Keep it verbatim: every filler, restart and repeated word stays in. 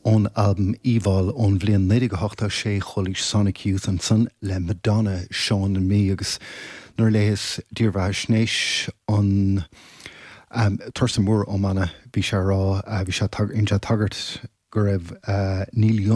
Ón albam Evol ón bhliain naoi déag ochtó sé chualaís Sonic Youth ansan le Madonna Shawin Me agus nuair a léas dírbheathaisnéis an um, Thurston Moore Ó Maine bhí sé rá uh, bhí sé tagairt go raibh uh, Neil Young